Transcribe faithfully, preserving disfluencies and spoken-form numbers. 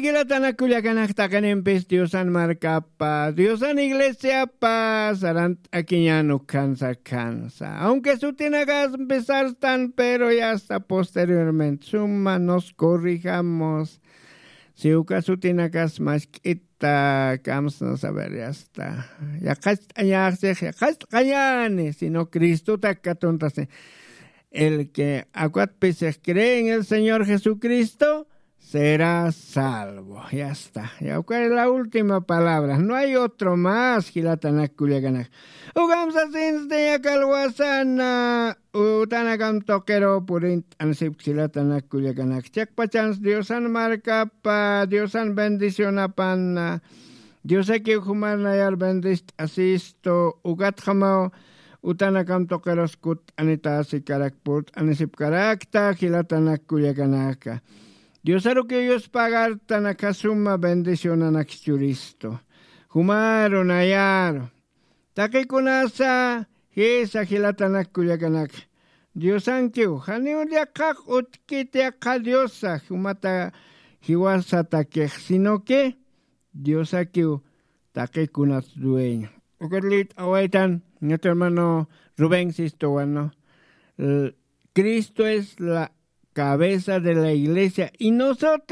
Jilatanakullakanakta qinimpis diosan markapa diosan iglesiapa sarant'akiñan ukhansa khansa aunque sutinakas mpisartan pero yasta posteriormente suma nos corrijamos. Si uka sutinakas mask'ita kamsna saber yasta yaqacht'añaxsix yaqacht'añani sino cristotak katuntasi. El que akwatpisix cree en el señor jesucristo será salvo. Yasta. Yawkar la última palabra no hay otro más jilatanak kullakanak. Ukamsasinsti yakalwasana utanakam tuqiru purint'ansipk jilatanak kullakanak chikpachans diosan markapa diosan bendicionapanna. Diosakiw jumarnayar bendist'asistu ukatxamaw utanakam tuqirus kutt'anitasi karak purt'anisipkarakta jilatanak kullakanaka. Diosarukiw yuspagartanakasuma bendicionanak churistu. Jumaru nayaru taqikunasa jisa jilatanak kullakanaka. Diosankiw janiw llaqaq ut'kit yaqha diosa jumata jiwasatakix sino que diosakiw taqikunat dueño. Ukat liyt'awaytan ñat hermano rubén sistuwano. Cristo es la cabeza de la iglesia y nosotros